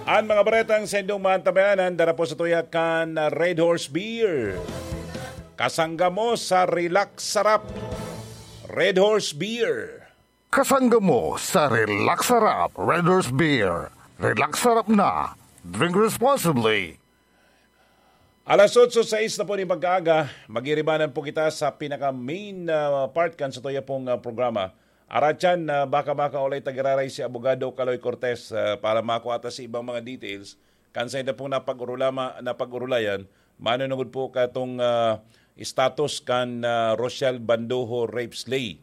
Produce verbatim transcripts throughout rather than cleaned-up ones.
An mga baretang sa indong maantabayanan, dara po sa tuya kan Red Horse Beer. Kasangga mo sa Relax Sarap. Red Horse Beer. Kasangga mo sa Relax Sarap, Red Horse Beer. Relax Sarap na. Drink responsibly. Alas otso sais na po ni pagkaaga, magiribanan po kita sa pinaka-main, ah, part kan sa tuya pong, ah, programa. Aratyan na baka makaulay tagiraray si Abogado Kaloy Cortez, ah, para makua ta sa ibang mga details. Kan sa ida pong napag-urulama, napag-urulayan, manunugod po katong, ah, status kan, ah, Rochelle Bandojo rape slay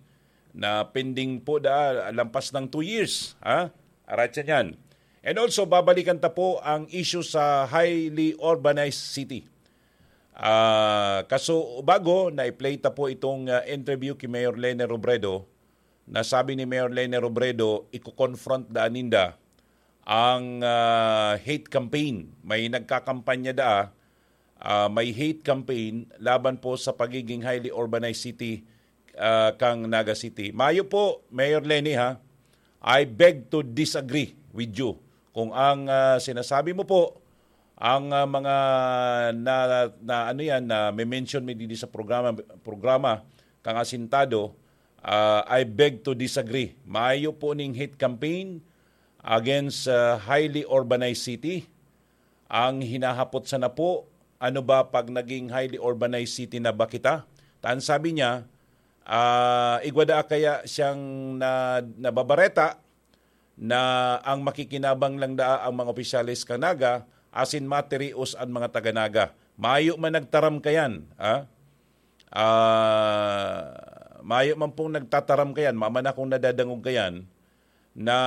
na pending po da, lampas ng two years, ha? Aratyan yan. And also, babalikan ta po ang issue sa highly urbanized city. Ah, kaso bago, na-play ta po itong, ah, interview ki Mayor Lene Robredo, na sabi ni Mayor Lene Robredo, iko-confront daan ninda ang, ah, hate campaign. May nagkakampanya daa, ah, may hate campaign laban po sa pagiging highly urbanized city, ah, kang Naga City. Mayo po, Mayor Lene, ha, I beg to disagree with you. Kung ang, ah, sinasabi mo po, ang, ah, mga na, na ano yan, na may mention mi didi sa programa, programa kang asintado, ah, I beg to disagree. Mayo po ning hate campaign against, ah, highly urbanized city. Ang hinahapot sana po, ano ba pag naging highly urbanized city na ba kita? Tan sabi niya, ah, igwa daa kaya siyang na, nababareta na ang makikinabang lang daa ang mga opisyales kan Naga, asin matirios an mga taga Naga. Mayo man nagtaram kayan, ah? Ah, mayo man pong nagtataram kayan, mama na kung nadadangog kayan, na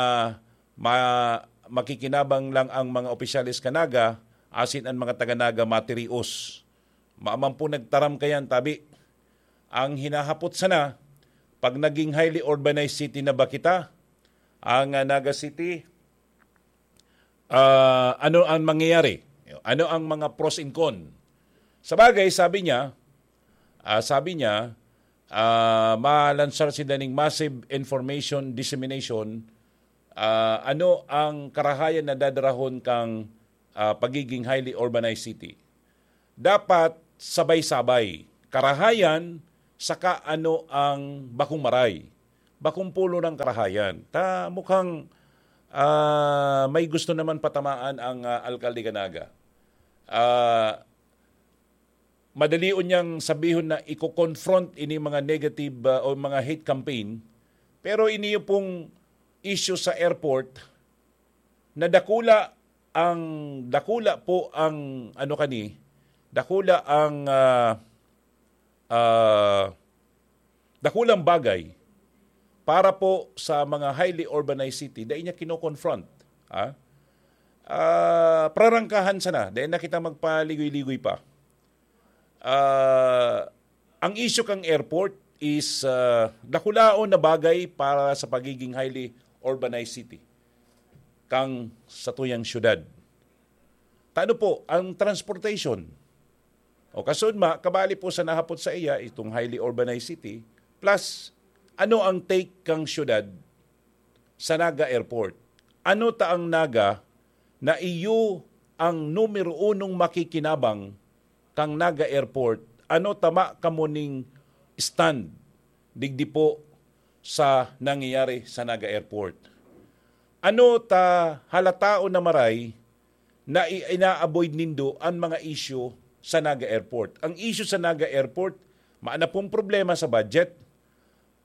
ma-, makikinabang lang ang mga opisyales kan Naga, asin an mga taga Naga matirios. Mayo man pong nagtaram kayan, tabi. Ang hinahapot sana, pag naging highly urbanized city na ba kita, ang, ah, Naga City, ah, ano ang mangyayari? Ano ang mga pros and con? Sabagay, sabi niya, ah, sabi niya, ah, malansar sinda ning massive information dissemination, ah, ano ang karahayan na dadarahon kang, ah, pagiging highly urbanized city? Dapat sabay-sabay. Karahayan, saka ano ang bakong maray. Bakong pulo ng karahayan. Ta, mukhang, ah, may gusto naman patamaan ang, ah, alkalde kan Naga. Ah, madalion niyang sabihon na iko-confront ini mga negative, ah, o mga hate campaign, pero ini pong issue sa airport na dakula ang, dakula po ang, ano kani, dakula ang, ah, ah, dakulang bagay para po sa mga highly urbanized city, dai niya kino-confront, ah. Ah, prarangkahan sana, dai na kita magpaligoy-ligoy pa. Ah, ang issue kang airport is, ah, dakulaon na bagay para sa pagiging highly urbanized city kang satuyang syudad. Tano po ang transportation? O kasunod ma, kabali po sa nahapot sa iya, itong highly urbanized city, plus ano ang take kang syudad sa Naga Airport? Ano ta ang Naga na iyo ang numero unong makikinabang kang Naga Airport? Ano tama kamo ning stand digdi po sa nangyayari sa Naga Airport? Ano ta halataon na maray na i-, ina-avoid nindo an mga issue sa Naga Airport? Ang issue sa Naga Airport, maana pong problema sa budget.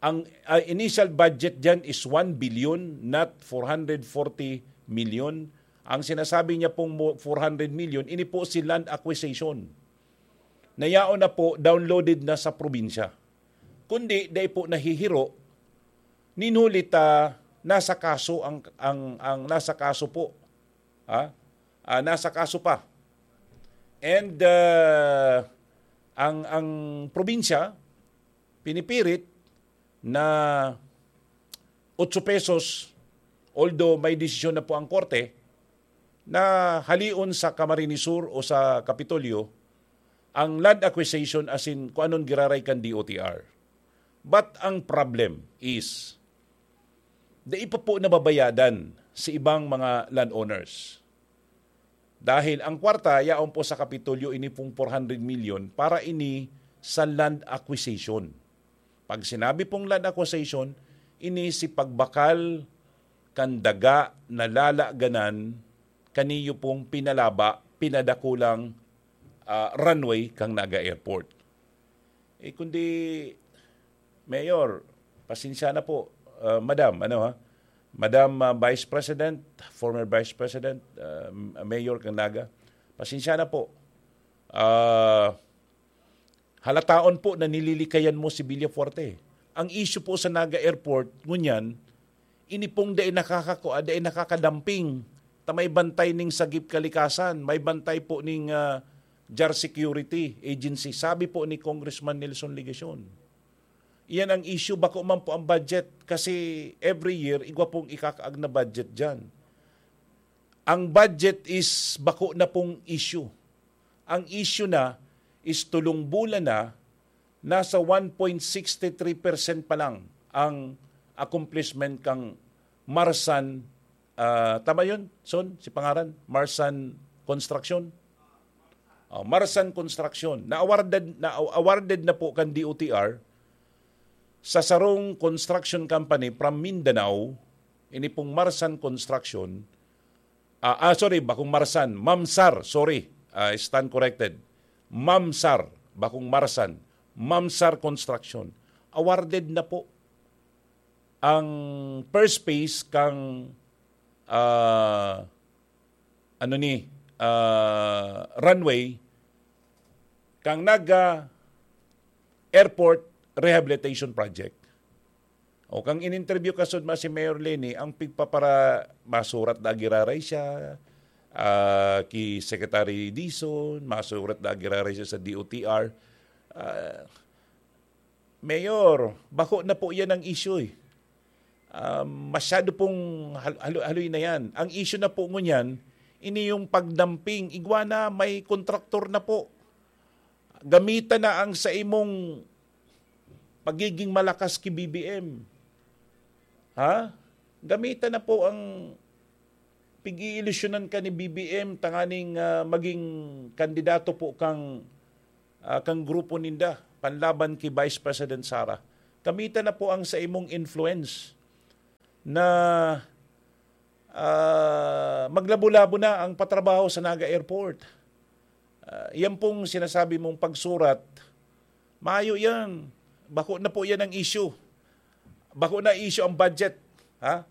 Ang, ah, initial budget diyan is one billion, not four hundred forty million. Ang sinasabi niya pong mo-, four hundred million, ini po si land acquisition. Nayaon na po, downloaded na sa probinsya. Kundi, dai po nahihiro, nin huli ta nasa kaso ang, ang, ang nasa kaso po. Ha? Ah, nasa kaso pa. And, ah, ang, ang probinsya, pinipirit na otso pesos, although may desisyon na po ang korte, na halion sa Camarines Sur o sa Kapitolyo ang land acquisition asin kung anon giraray kan D O T R. But ang problem is, dai pa po nababayadan sa ibang mga landowners. Dahil ang kwarta, yaon po sa Kapitolyo, ini pong four hundred million para ini sa land acquisition. Pag sinabi pong land acquisition, ini si pagbakal kan daga na lalaganan kaniyo pong pinalaba, pinadakulang, ah, runway kang Naga Airport. Eh, kundi, Mayor, pasensya na po, ah, Madam, ano ha? Madam, ah, Vice President, former Vice President, ah, Mayor kang Naga, pasensya na po. Ah, halataon po na nililikayan mo si Villafuerte. Ang issue po sa Naga Airport, ngunyan, ini pong dai nakakakua, dai nakakadamping. Ta may bantay ning sagip kalikasan, may bantay po ning, ah, jar security agency. Sabi po ni Congressman Nelson Legacion, iyan ang issue, bako man po ang budget. Kasi every year, igwa pong ikakaag na budget dyan. Ang budget is bako na pong issue. Ang issue na is tulong bulan na, nasa one point six three percent pa lang ang accomplishment kang Marsan, ah, tama yun, Son? Si pangaran? Marsan Construction? Oh, Marsan Construction. Na-awarded, na-awarded na po kan D O T R sa sarong construction company from Mindanao, ini pong Marsan Construction. Ah, ah, sorry, bakong Marsan, Mamsar, sorry. Ah, stand corrected. Mamsar, bakong Marsan, Mamsar Construction. Awarded na po ang first phase kang, ah, ano ni, ah, runway kang Naga Airport Rehabilitation Project. O kang in-interview ka sud ma si Mayor Leni, ang pigpapara-, masurat na giraray siya, ah, ki Secretary Dizon, masurat na giraray siya sa D O T R. Ah, Mayor, bako na po yan ang issue eh. Ah, masyado pong hal-, halo-, haloy na yan. Ang issue na po ngunyan, ini yung pagdamping. Igwa na, may kontraktor na po. Gamitan na ang sa imong pagiging malakas ki B B M. Ha? Gamitan na po ang pig-iilusyonan ka ni B B M tanganing, ah, maging kandidato po kang, ah, kang grupo ninda panlaban ki Vice President Sara. Gamitan na po ang sa imong influence na, ah, maglabo-labo na ang patrabaho sa Naga Airport. Ah, yan pong sinasabi mong pagsurat, mayo yan. Bako na po yan ang issue. Bako na issue ang budget. Ha?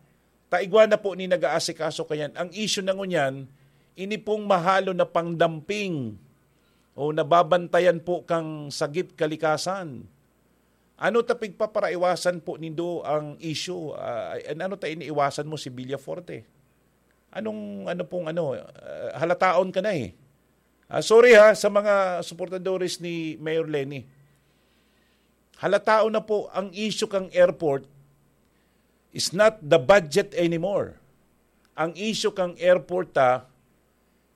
Taigwa na po ni nag-aasikaso kayan. Ang issue na ngunyan, ini pong mahalo na pangdamping o nababantayan po kang sagip kalikasan. Ano ta pigpaparaiwasan po nindo ang issue? Ah, an-, ano ta iniiwasan mo si Villaforte? Anong, ano pong ano, ah, halataon ka na eh. Ah, sorry ha, sa mga suportadores ni Mayor Leni. Halataon na po ang issue kang airport is not the budget anymore. Ang issue kang airport ta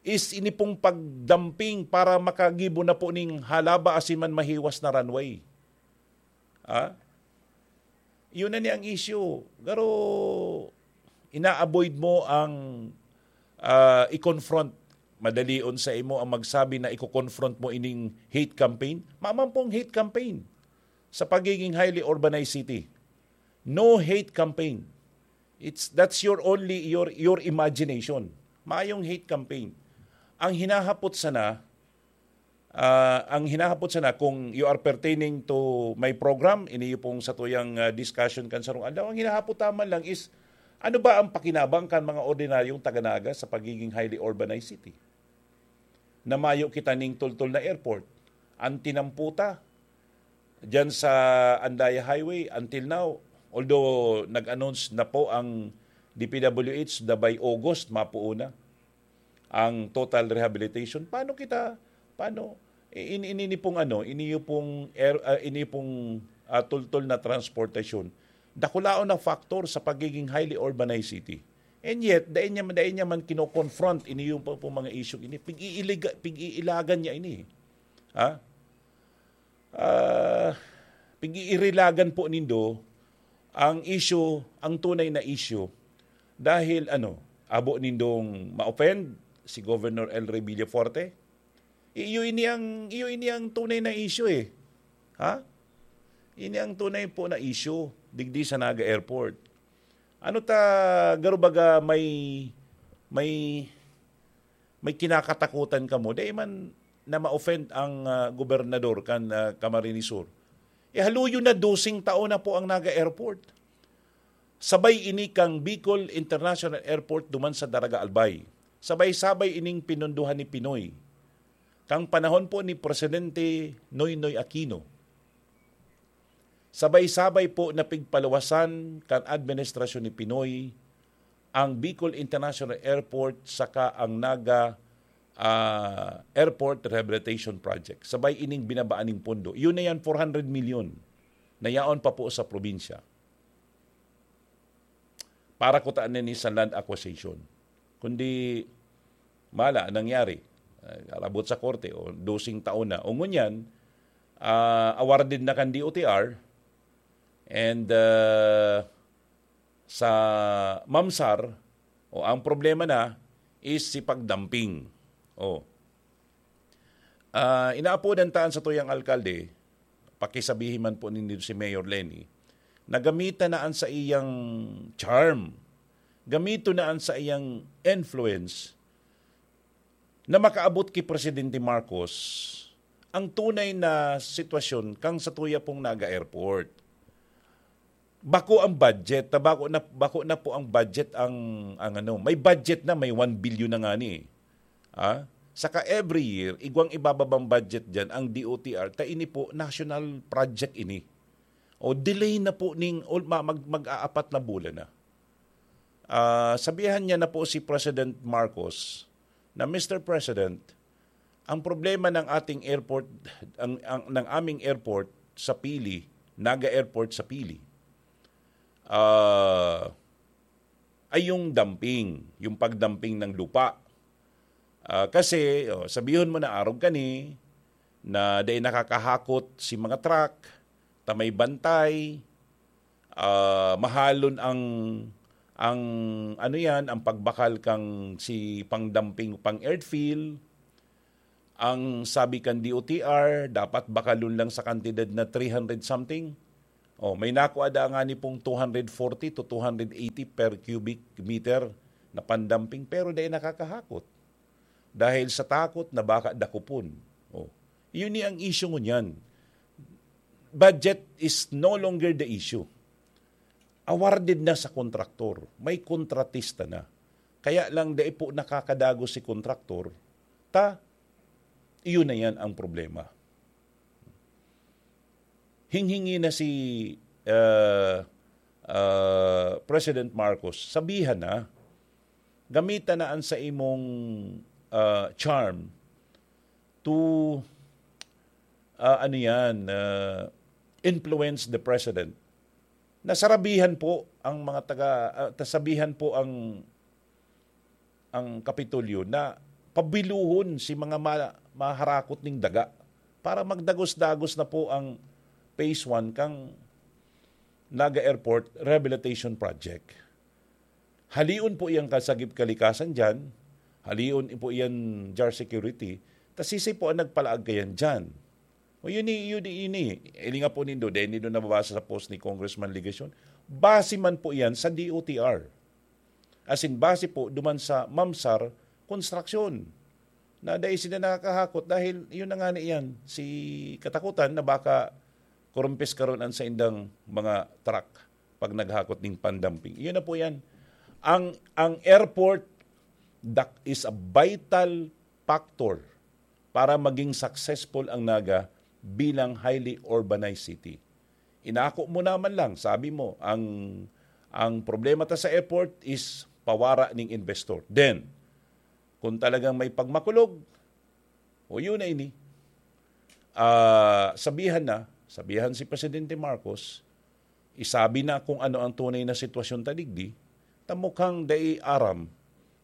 is ini pong pagdamping para makagibo na po ning halaba asin man mahiwas na runway. Ah? Yun na ni ang issue. Pero ina-avoid mo ang, ah, i-confront. Madalion sa imo ang magsabi na iko-confront mo ining hate campaign. Maman pong hate campaign sa pagiging highly urbanized city. No hate campaign. It's, that's your only, your, your imagination. Mayong hate campaign. Ang hinahapot sana, ah, ang hinahapot sana, kung you are pertaining to my program, ini pong satuyang, ah, discussion kan sarong aldaw, ang hinahapot taman lang is, ano ba ang pakinabang kan mga ordinaryong taga-Naga sa pagiging highly urbanized city? Na mayo kita ning tultol na airport. Ang tinamputa diyan sa Andaya Highway until now, although nag-announce na po ang D P W H na by August, mapuo na ang total rehabilitation. Paano kita, paano, i-, in-, ini pong ano, ini pong air, ah, ini pong, ah, tultol na transportasyon, dakulaon na factor sa pagiging highly urbanized city. And yet, dai niya, dai niya man kino-confront ini yung po, po mga issue ini. Pig-iiliga-, pig-iilagan niya ini. Ha? Ah, pig-iirilagan po nindo ang issue, ang tunay na issue. Dahil ano, abo nindong ma-offend si Governor El Rey Villafuerte. Iyo ini ang, iyo ini ang tunay na issue eh. Ha? Ini ang tunay po na issue digdi sa Naga Airport. Ano ta, garo baga may, may, may kinakatakutan kamo? Dai man na ma-offend ang, ah, gobernador kan, ah, Camarines Sur. Eh, haluyo na doseng taon na po ang Naga Airport. Sabay ini kang Bicol International Airport duman sa Daraga Albay. Sabay-sabay ining pinunduhan ni Pinoy. Kang panahon po ni Presidente Noynoy Aquino. Sabay-sabay po na pigpaluwasan kan administrasyon ni Pinoy ang Bicol International Airport saka ang Naga, ah, Airport Rehabilitation Project. Sabay ining binabaan ning pondo. Yun na yan, four hundred million na yaon pa po sa probinsya. Para kutaan na ni sa land acquisition. Kundi, mala, nangyari. Ah, arabot sa korte, o doseng taon na. O ngunyan, ah, awarded na kan D O T R, and, ah, sa MAMSAR, o ang problema na is si pagdamping. O. Ah, inaapodan taan sa tuyang alkalde, pakisabihin man po ninyo si Mayor Leni, na gamitan na an sa iyang charm, gamiton na an sa iyang influence na makaabot ki Presidente Marcos ang tunay na sitwasyon kang sa tuya pong Naga Airport. Bako ang budget, ta bako na, bako na po ang budget ang, ang ano, may budget na, may one billion na nga ni. Ah? Saka every year, igwang ibababang budget dyan ang D O T R, ta ini po, national project ini. O delay na po ning ul-, ma-, mag, mag-aapat na bulan na. Ah, sabihan niya na po si President Marcos na, "Mister President, ang problema ng ating airport, ang, ang, ng aming airport sa Pili, Naga Airport sa Pili, ah, ay yung dumping, yung pagdumping ng lupa." Ah, kasi, oh, sabihon mo na arog kani, na dai nakakahakot si mga truck, ta may bantay, ah, mahalon ang, ang, ano yan, ang pagbakal kang si pangdumping, pang earthfill. Ang sabi kan D O T R, dapat bakalon lang sa kantidad na three hundred something. Oh, may nakuha da nga ni pong two hundred forty to two hundred eighty per cubic meter na pandumping, pero dai nakakahakot. Dahil sa takot na baka dakopon. Oh. Yun ni ang issue ngunyan. Budget is no longer the issue. Awarded na sa kontraktor. May kontratista na. Kaya lang dai po nakakadagos si kontraktor. Ta, iyon na yan ang problema. Hinghingi na si, ah, ah, President Marcos, sabihan na, gamitan na an sa imong, ah, charm to, ah, ano yan, ah, influence the president. Nasarabihan po ang mga taga, ah, tasabihan po ang, ang Kapitolyo na pabiluhon si mga ma-, maharakot ning daga para magdagos-dagos na po ang phase one kang Naga Airport Rehabilitation Project. Halion po iyang kasagip kalikasan dyan, halion po iyan jar security, ta sisay po ang nagpalaag kayan dyan. O yun, yun, yun, yun, eh. Ilinga po nindo, dahil nindo nababasa sa post ni Congressman Legacion, base man po iyan sa D O T R. As in, base po duman sa MAMSAR Construction na dai sila nakakahakot dahil yun na nga na iyan, si katakutan na baka kurumpis karon ang saindang mga truck pag naghakot ning pandumping. Yun na po yan. Ang, ang airport dak-, is a vital factor para maging successful ang Naga bilang highly urbanized city. Inako mo naman lang, sabi mo, ang, ang problema ta sa airport is pawara ning investor. Then, kung talagang may pagmakulog, o yun na ini. Ah, sabihan na, sabihan si Presidente Marcos, isabi na kung ano ang tunay na sitwasyon ta digdi, ta mukhang dai aram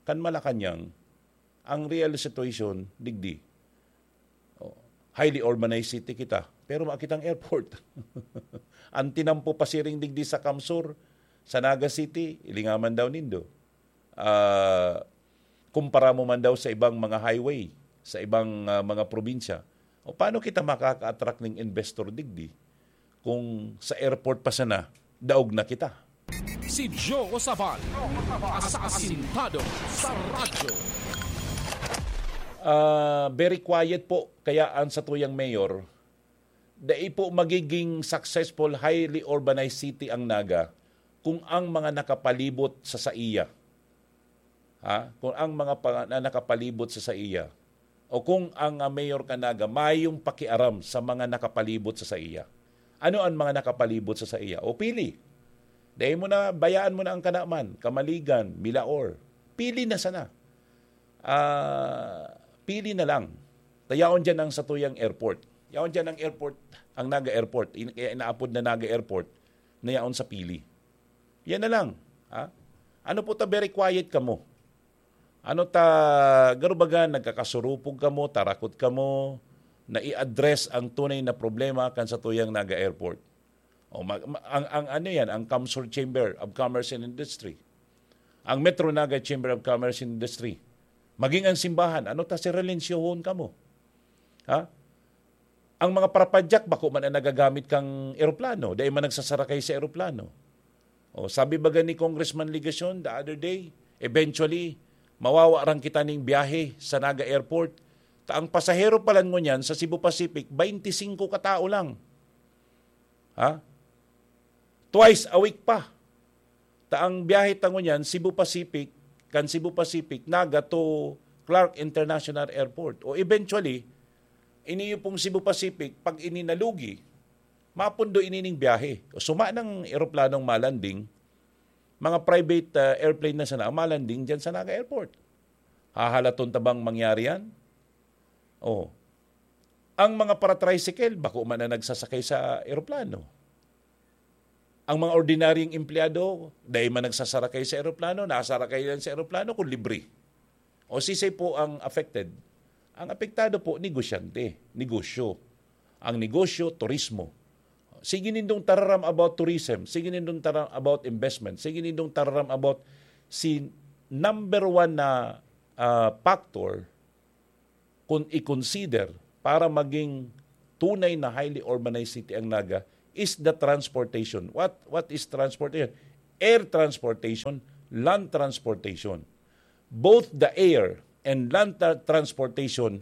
kan Malacañang ang real situation digdi. Oh, highly urbanized city kita, pero makitang airport. Ang tinampo pasiring digdi sa Kamsur, sa Naga City, ilingaman daw nindo. Ah, Kumpara mo man daw sa ibang mga highway, sa ibang, ah, mga probinsya. O paano kita makaka-attract ning investor digdi kung sa airport pa sana, daog na kita? Si Joe Sabal, asasintado sa radyo. Ah, very quiet po kaya ang satuyang mayor. Dai po magiging successful, highly urbanized city ang Naga kung ang mga nakapalibot sa saiya, ha? Kung ang mga pa-, na nakapalibot sa saiya, o kung ang, ah, mayor ka Naga mayong pakiaram sa mga nakapalibot sa saiya. Ano ang mga nakapalibot sa saiya? O pili. Dahil mo na, bayaan mo na ang Kanaman, Kamaligan, Milaor. Pili na sana. Ah, pili na lang. Tayaon dyan ang satuyang airport. Yaon dyan ang airport, ang Naga Airport. In-, kaya inaapod na Naga Airport na yaon sa pili. Yan na lang. Ha? Ano po ta, very quiet kamo? Ano ta, garo baga, nagkakasurupog kamo, tarakot kamo, na i-address ang tunay na problema kan satuyang Naga Airport? O, mag-, ma-, ang, ang ano yan, ang CamSur Chamber of Commerce and Industry, ang Metro Naga Chamber of Commerce and Industry, maging ang simbahan, ano ta, sirelensyohon kamo? Ha? Ang mga parapadyak, bako man ang nagagamit kang eroplano, dai man nagsasarakay sa eroplano. O, sabi baga ni Congressman Legacion the other day, eventually, mawawaran kita ning biyahe sa Naga Airport. Ta ang pasahero pa lang ngunyan sa Cebu Pacific, twenty-five katao lang. Ha? Twice a week pa. Ta ang biyahe ta ngunyan, Cebu Pacific, kan Cebu Pacific, Naga to Clark International Airport. O eventually, ini pong Cebu Pacific, pag ini nalugi, mapundo ini ning biyahe. O suma ng eroplanong malanding, mga private, ah, airplane na sana ang malanding dyan sa Naga Airport. Hahalaton ta bang mangyari yan? Oh. Ang mga para-tricycle, bako man na nagsasakay sa eroplano. Ang mga ordinaryong empleyado, dai man nagsasarakay sa eroplano, nasarakay lang sa eroplano kung libre. O sisay po ang affected? Ang apektado po, negosyante, negosyo. Ang negosyo, turismo. Sige nindong tararam about tourism, sige nindong tararam about investment, sige nindong tararam about si number one na, ah, factor kung i-consider para maging tunay na highly urbanized city ang Naga is the transportation. What, what is transportation? Air transportation, land transportation. Both the air and land tra-, transportation,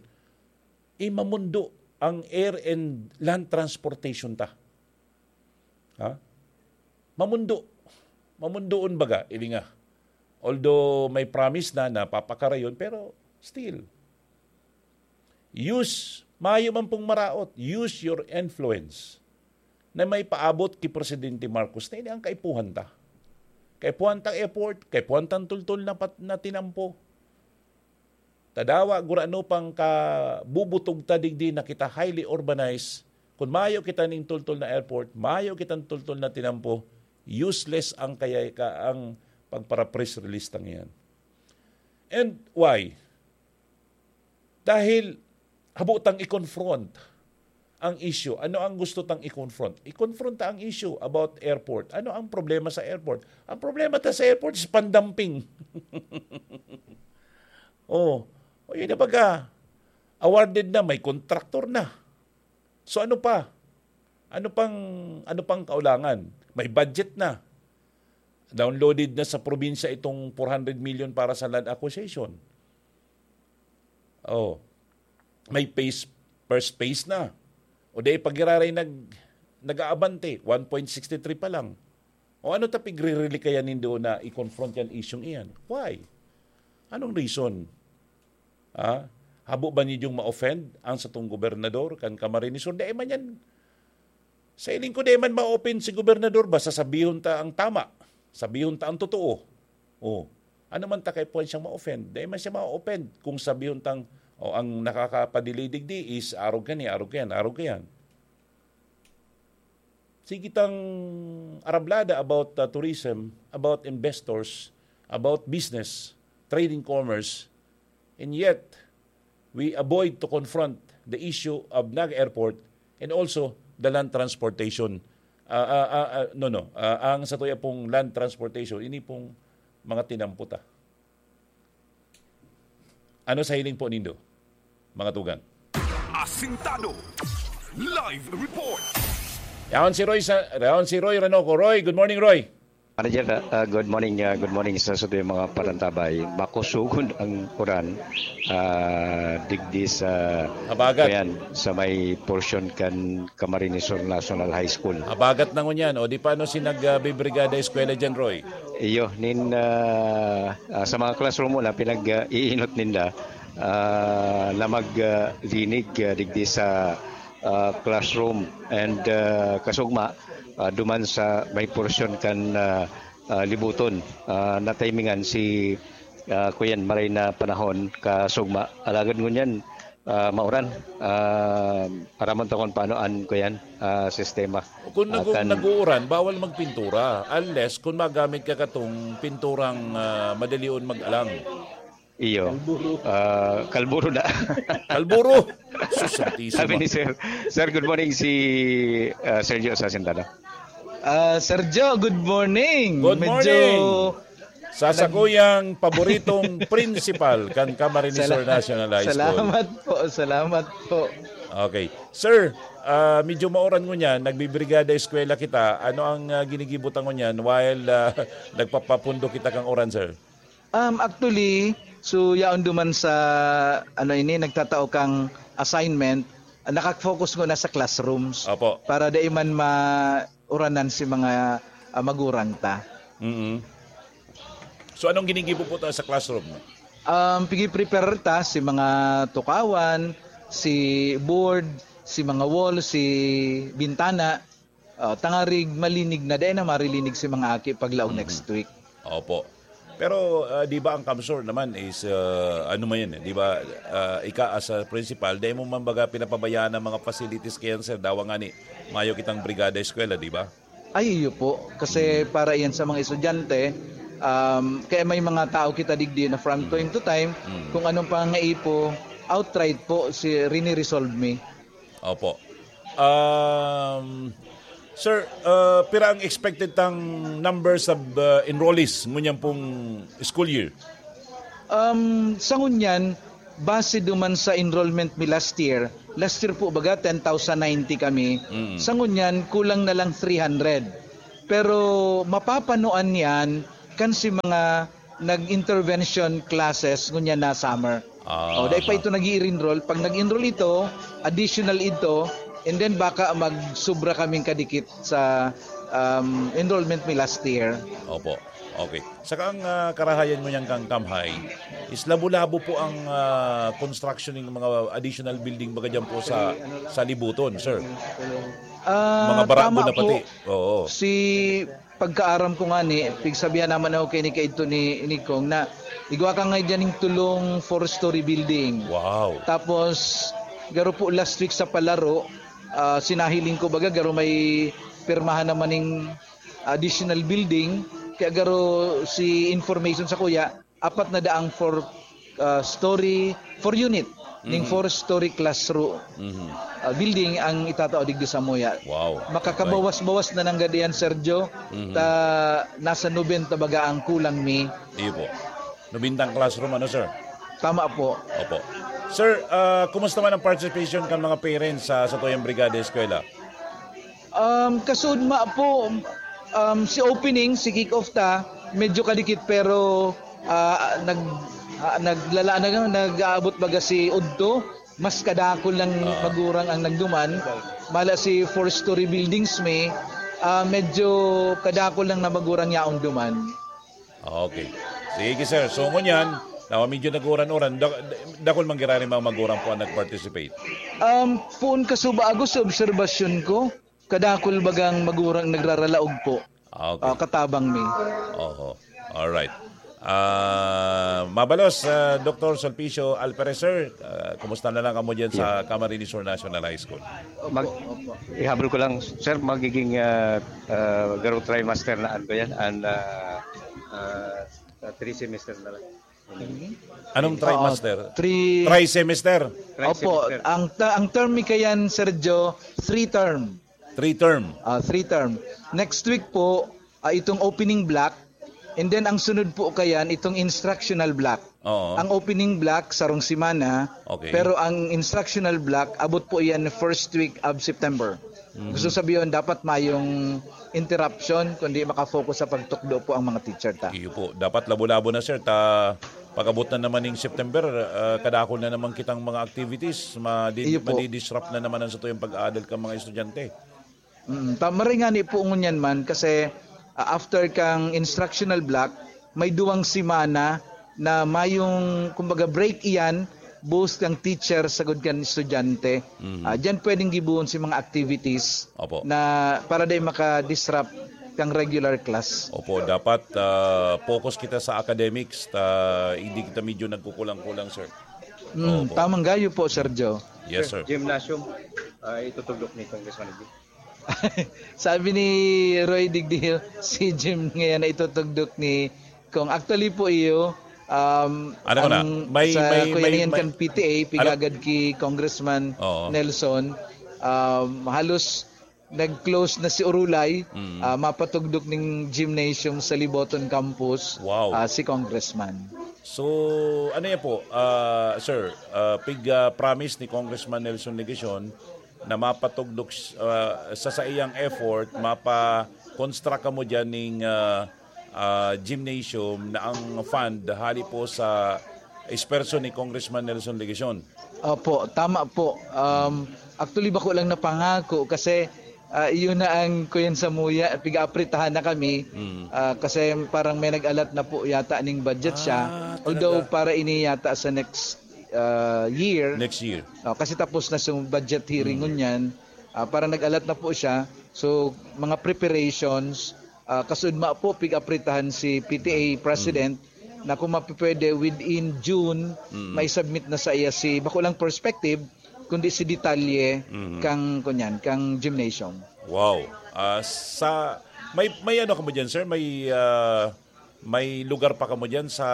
eh, mamundo ang air and land transportation ta. Ha? Mamundo. Mamundoon baga, ili nga. Although may promise na, napapakarayon, pero still, use, mayo man pong maraot, use your influence na may paabot ki Presidente Marcos na ini ang kaipuhan ta. Kaipuhan tang airport, kaipuhan tang tultol na pat-, na tinampo. Tadawa, gurano pang kabubutog ta digdi na kita highly urbanized. Kun mayo kita ning tultol na airport, mayo kitang tultol na tinampo, useless ang kaya ka, ang pagpara-press release tang iyan. And why? Dahil habo tang i-confront ang issue. Ano ang gusto tang i-confront? I-confront ta ang issue about airport. Ano ang problema sa airport? Ang problema ta sa airport is pandamping. Oh, o yun na baga. Awarded na, may contractor na. So ano pa? Ano pang, ano pang kaulangan? May budget na. Downloaded na sa probinsya itong four hundred million para sa land acquisition. Oh. May phase, first phase na. O di pag iraray nag, nag-aabante, one point six three pa lang. O ano ta pigririli kaya nindo na i-confront yan isyung iyan? Why? Anong reason? Ah, habo ba ninyong ma-offend ang satong gobernador kan Camarines Sur? Dai man yan. Sa hiling ko, dai man ma-offend si gobernador, basta sabihon ta ang tama. Sabihon ta ang totoo. Oh. Ano man ta kaipuhan siyang ma-offend? Dai man siya ma-offend kung sabihon tang, "Oh, ang nakakapadelay digdi is arog kani, arog kayan, arog kayan." Sige tang arablada about, uh, tourism, about investors, about business, trading, commerce, and yet we avoid to confront the issue of Naga Airport and also the land transportation. Ah, ah, ah, ah, no, no. Ah, ang satuya pong land transportation, ini pong mga tinampo ta. Ano sa hiling po nindo, mga tugang? Asintado. Live report. Yaon si Roy sa yaon si Roy Ranoco. Roy, good morning, Roy. Manager, uh, good morning, uh, good morning sa sabi mga parantabay. Makusugon ang uran uh, digdi sa Habagat. Ayan, sa may portion kan Camarines Sur National High School. Habagat na ngunyan, o di paano si nagbibrigada eskwela dyan, Roy? Iyo, nin uh, uh, sa mga classroom mo na pinag-iinot ninda uh, na maglinig uh, digdi sa uh, classroom and uh, kasugma uh, duman sa may portion kan uh, uh, libuton uh, natimingan si uh, kuyan maray na panahon kasugma alagad ngunyan uh, mauran uh, aramon ta kung paano an kuyan uh, sistema. Kung nag- Akan- nag-uuran, bawal magpintura unless kung magamit ka katong pinturang ah, madalion mag-alang. Iyo. Ah, kalburo na. Kalburo! Sus, santisima. Sabi ni Sir. Sir, good morning si ah, Sergio sa Sintana. Ah, Sergio, good morning. Good Medyo morning. Sa sakuyang paboritong principal kan Camarines Sur Sala- National High School. Salamat po, salamat po. Okay. Sir, ah, medyo mauran ngunyan, nagbibrigada eskwela kita. Ano ang ah, ginigibo ta ngunyan while ah, nagpapapundo kita kang uran, sir? Um, actually, so yaon duman sa ano ini nagtatao kang assignment, nakafocus ko na sa classrooms Opo. para dai man mauranan si mga ah, magurang ta. Mm. So anong ginigibo po ta sa classroom? Um, pigi-prepare ta si mga tukawan, si board, si mga wall, si bintana. Uh, tangarig malinig na dahil na marilinig si mga aki paglaog next week. Opo. Pero ah, di ba ang CamSur naman is ah, ano man yan, eh, di ba? Ah, ika as a principal, dahil mo man baga pinapabayaan ang mga facilities kaya sir, dawa nga ni mayo kitang brigada eskwela, di ba? Ay, iyo po. Kasi para yan sa mga estudyante, um, kaya may mga tao kita digdi na from time to time, kung anong pangangaipo, outright po, si, rini-resolve mi. Opo. Um, sir, ah, pira ang expected tang numbers of ah, enrollees ngunyan pong school year? Um, sa ngunyan, base duman sa enrollment mi last year, last year po baga ten thousand ninety kami. Sa ngunyan, kulang na lang three hundred. Pero mapapanoan yan kan si mga nag-intervention classes ngunyan na summer. Ah. O, dahil pa ito nag-i-enroll. Pag nag-enroll ito, additional ito, and then baka magsubra kaming kadikit sa um, enrollment mi last year. Opo. Okay. Saka ang ah, karahayan mo niyang kang Kamhay is labo-labo po ang ah, construction ng mga additional building baga dyan po sa sa Libuton, sir. Ah, Mga barako tama na pati. Po, Oo. Si pagkaaram ko nga ni, pigsabihan naman ako kay ni kaidto ni Inigkong na igwa ka nga dyan yung tulong four-story building. Wow. Tapos, garo po last week sa palaro, ah, sinahiling ko baga, garo may pirmahan naman ning additional building. Kaya garo si information sa kuya, apat na daang four ah, story, four unit, ning four story classroom ah, building ang itatao digdi sa Moya. Wow. Makakabawas-bawas na nanggad iyan, Sergio. Ta nasa nobenta baga ang kulang mi. Iyo po. Nobentang classroom, ano, sir? Tama po. Opo. Sir, ah, kumusta man ang participation kan mga parents sa satuyang Brigada Eskwela? Um, kasudma po, um, si opening, si kick-off ta, medyo kadikit pero ah, nag ah, naglala na nag-aabot baga si udto, mas kadakol lang magurang ang nagduman. Mala si four-story buildings mi, ah, medyo kadakol lang na magurang yaon duman. Okay. Sige, sir. So, ngunyan, na medyo nag-uran-uran, da- dakol man giraray mga magurang po ang nag-participate. Um, puon kasuba ako sa obserbasyon ko, kadakol bagang magurang nagraralaog po. Ah, okay. Ah, katabang mi. Oho. Alright. Ah, mabalos, ah, Doktor Sulpicio Alpereser, ah, kumusta na lang kamo dyan sa Camarines Sur National High School? Mag, ihabol ko lang, sir, magiging uh, uh, garo trimester na ano yan, and uh, uh, three semester na lang. Anong trimester? Three Tri-semester. Three Opo, semester. Ang ta- ang term mi kayan, Sergio, three term. Three term. Ah, three term. Next week po, ah, itong opening block, and then ang sunod po kayan, itong instructional block. Oo. Ang opening block, sarong semana, Okay. pero ang instructional block, abot po yan first week of September. Mhm. Gusto sabihin, dapat mayong interruption, kundi makafocus sa pagtukdo po ang mga teacher ta. Iyo po. Dapat labo-labo na, sir. Ta, pag-abot na naman ning September, ah, kadakol na naman kitang mga activities, madi-, Iyo po. madi-disrupt na naman ang satuyang pag-aadal kang mga estudyante. Mm, ta-, maray ngani po ngunyan man kasi, ah, after kang instructional block, may duwang semana na mayong, kumbaga, break iyan, both kang teacher sagod kan estudyante. Mhm. Ah, diyan pwedeng gibohon si mga activities Opo. na para dai maka-disrupt kang regular class. Opo, dapat, ah, focus kita sa academics, ta hindi kita medyo nagkukulang-kulang, sir. Mm, Opo. tamang gayo po, Sir Joe. Yes, sir. Gymnasium, ah, itutugdok ni Congressman Edwin. Sabi ni Roy Digdio, si gym ngayon na itutugdok ni Kong. Actually po iyo, um, Ano ko na? ang May, sa may, kuya may, niyan may, kan P T A, ano? pigagad ki Congressman Oo. Nelson, um, halos nag-close na si Urulay, Mm. ah, mapatugdok ning gymnasium sa Liboton Campus, Wow. ah, si Congressman. So, ano yan po, ah, sir? Ah, pig, ah, promise ni Congressman Nelson Legacion na mapatugdok, ah, sa saiyang effort, mapa-construct kamo dyan ning, ah, ah, gymnasium na ang fund hali po sa esperso ni Congressman Nelson Legacion. Opo, tama po. Um, actually, bako lang napangako kasi, ah, iyon na ang kuyan sa muya, piga-apritahan na kami. Mm. Ah, kasi parang may nag-alat na po yata ning budget siya. Ah, Although talaga? para ini yata sa next, ah, year. Next year. Oh, kasi tapos na yung budget hearing Mm. ngunyan. Ah, parang nag-alat na po siya. So, mga preparations, ah, kasudma po, pig-apritahan si P T A President Mm. na kung mapipwede, within June, Mm. may submit na sa iya si, bako lang perspective, kundi si detalye Mhm. kang, kunyan, kang gymnasium. Wow. Ah, sa, may, may ano kamo dyan, sir? May, ah, may lugar pa kamo dyan sa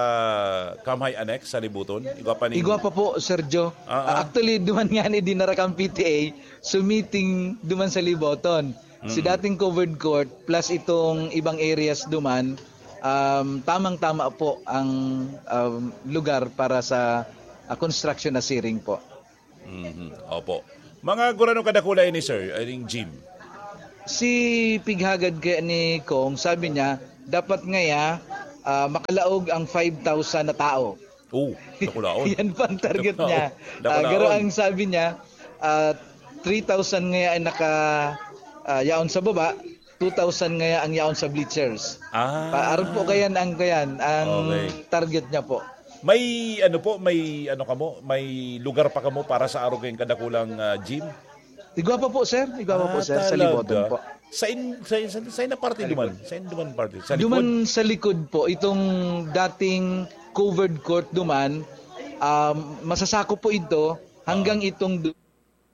Kamhay Annex, sa Libuton? Igwa pa ning Igwa pa po, Sir Joe. Ah, ah. Ah, actually, duman nga ni dinara kang P T A, so meeting duman sa Liboton. Si Mm. dating covered court plus itong ibang areas duman, um, tamang-tama po ang, um, lugar para sa, ah, construction na siring po. Mhm. Opo. Mga gurano kadakula ini, sir, ining gym? Si pighagad kaya ni Kong, sabi niya, dapat ngaya, ah, makalaog ang five thousand na tao. Oh, dakulaon. Yan pa ang target Dakulaon. niya. Ah, Dakulaon. garo ang sabi niya, ah, three thousand ngaya ang naka, ah, yaon sa baba, two thousand ngaya ang yaon sa bleachers. Ah. Pa-, aron po kayan ang, kayan, ang Okay. target niya po. May ano po, may ano kamo, may lugar pa kamo para sa arog kayong kadakulang, ah, gym? Igwa pa po, sir. Igwa pa po, Ah, sir. Sa talaga? Liboton po. Sa in-, sa, sa, sa ina parte Sa duman? likod. Sa ina duman parte? Sa likod? Duman sa likod po, itong dating covered court duman, um, masasakop po ito hanggang Ah. itong du-,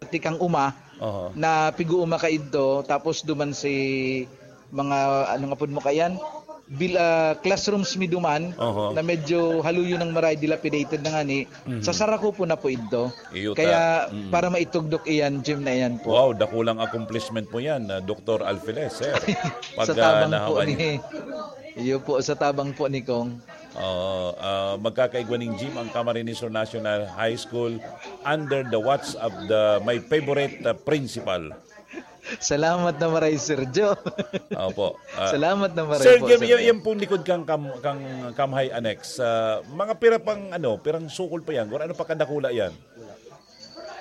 tikang uma Aha. na pig-uuma ka idto, tapos duman si mga, ano nga pud mo kayan? Bil-, ah, classrooms mi duman Aha. na medyo haluyon ng maray, dilapidated na ngani. Mhm. Sa sarako po na po idto. Iyo ta. Kaya Mm. para maitugdok iyan, gym na iyan po. Wow, dakulang accomplishment po yan, ah, Doktor Alfiles, sir. Pag, Sa ah, tabang po nahawan ni, iyo po, sa tabang po ni Kong. Oo, ah, magkakaigwa ning gym ang Camarines Sur National High School under the watch of the, my favorite, ah, principal. Salamat na maray, Sir Joe. Opo. Ah, Salamat na maray Sir po, Jim, Sir y-, Joe. yung pong likod kang Cam-, kang Kamhay Annex, ah, mga pira pang, ano, pirang sukol pa yan? Or ano pa kadakula yan?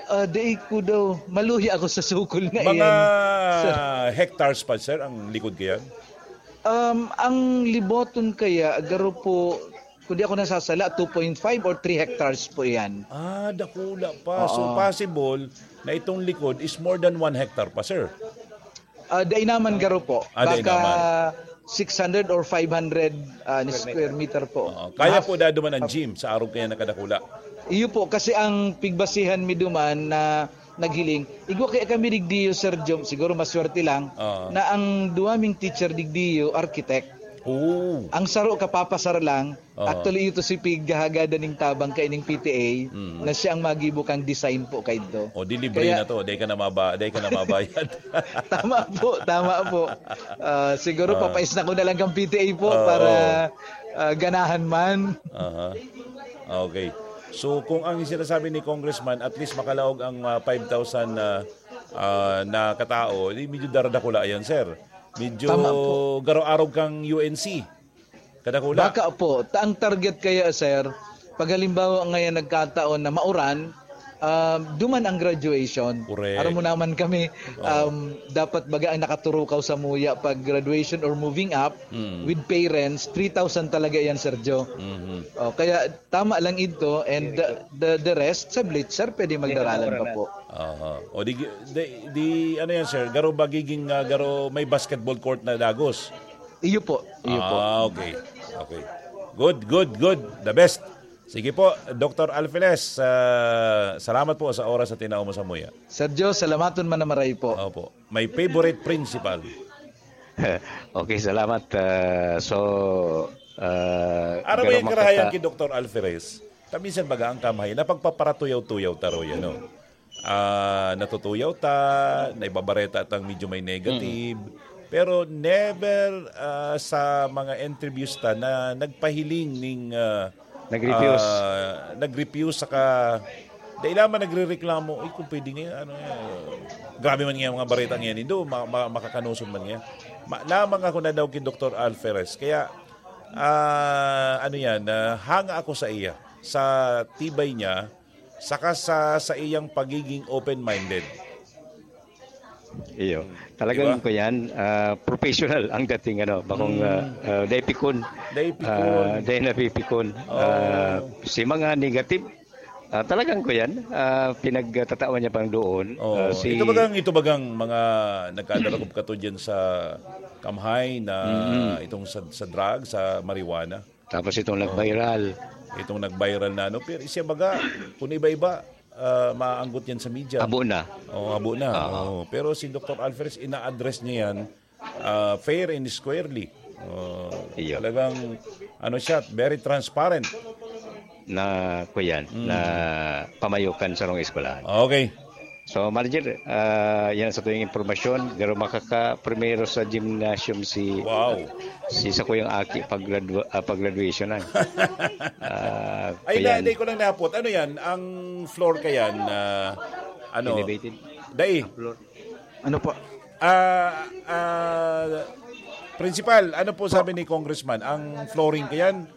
Ah, dai ko daw, maluya ako sa sukol na Mga iyan. Sir. hectares pa, sir, ang likod kayan? Um, ang Liboton kaya, garo po, kung di ako nasasala, two point five or three hectares po iyan. Ah, dakula pa. So, Oo. possible na itong likod is more than one hectare pa, sir. Ah, dai naman garo po. Ah, dai Baka naman. six hundred or five hundred, ah, ni square meter po. Oo. Kaya Half. po daduman ang gym sa arog kaya nakadakula. Iyo po, kasi ang pigbasihan mi duman na naghiling, igwa kaya kami digdiyo, Sir Jom, siguro maswerte lang, Oo. na ang duwa ming teacher digdiyo, architect. Oo. Ang saro kapapasar lang, Oo. actually, ito si Pig Gahagada ning tabang kaining P T A Mm. na siya ang magibo kang design po kaidto. O, di libre Kaya na to. Di ka na maba-, di ka na mabayad. Tama po, tama po. Ah, siguro Ah. papais na ko na lang kang P T A po Oo. para, ah, ganahan man. Aha. Okay. So, kung ang sinasabi ni Congressman, at least makalaog ang, ah, five thousand na, ah, na katao, di medyo daradakula yan, sir. Medyo Tama po. garo-arog kang U N C. Kadakula. Baka po, ta ang target kaya, sir, pag halimbawa ngayon nagkataon na mauran, ah, duman ang graduation. Correct. Aram mo naman kami, um, dapat baga ang nakaturukaw sa muya pag graduation or moving up Mm. with parents, three thousand talaga yan, Sir Joe. Mhm. Oh, kaya tama lang ito and the, the, the rest, sa bleacher, pwede magdaralan pa po. Aha. O di, di, di, ano yan, sir? Garo magiging, ah, garo may basketball court na dagos. Iyo po, iyo po. Ah, okay. Okay. Good, good, good. The best. Sige po, Doctor Alfiles, ah, salamat po sa oras na tinao mo sa muya. Sir Joe, salamaton man na maray po. Opo. My favorite principal. Okay, salamat. Ah, so, ah, Ano ba garo yung karahayan makata- kay Doctor Alferez? Kaminsan baga ang kamhay, napagpaparatuyaw-tuyaw taro yan, no? Ah, natutuyaw ta, naibabareta tang medyo may negative, pero never, ah, sa mga interviews ta na nagpahiling ning, ah, Nag-refuse. ah, nag-refuse saka dahil man nagrereklamo, "Uy, kung pwede nga, ano, eh, grabe man nga mga bareta ngayon, indo, ma- ma- makakanuson man nga." Ma- lamang ako na daw kay Doctor Alferez. Kaya, ah, ano yan, ah, hanga ako sa iya, sa tibay niya, saka sa, sa iyang pagiging open-minded. Iyo. Talagang Diba? ko yan, ah, professional ang dating, ano, bakong Mm. ah, ah, dai pikon. Dai pikon. Ah, dai napipikon. Oh. Ah, si mga negative, ah, talagang ko yan, ah, pinagtatawan niya pang doon. Oh, Ah, si, ito bagang ito bagang mga nagkadarakop kato diyan sa kamhay na itong sa, sa drug, sa marijuana. Tapos itong nag-viral. Itong nag-viral na ano, pero siya baga, kung iba-iba, ah, maanggot yan sa media. Abo na. Oo, abo na. Ah. Oo. Pero si Doctor Alferez, ina-address niya yan ah, fair and squarely. Oh, Iyo. Talagang, ano siya, very transparent. Na, ko yan, na pamayokan sa rong eskwelahan. Okay. So, Marjir, ah, yan sa tuwing impormasyon, pero makaka-primero sa gymnasium si Wow. si sa kuyang aki pag gradua, ah, pag graduation na. Ah, Ay, yan. na, dai ko lang napot. Ano yan? Ang floor ka yan? ah, ano? Elevated. Dai. Ano po? Ah, ah, Principal, ano po sabi ni Congressman? Ang flooring ka yan?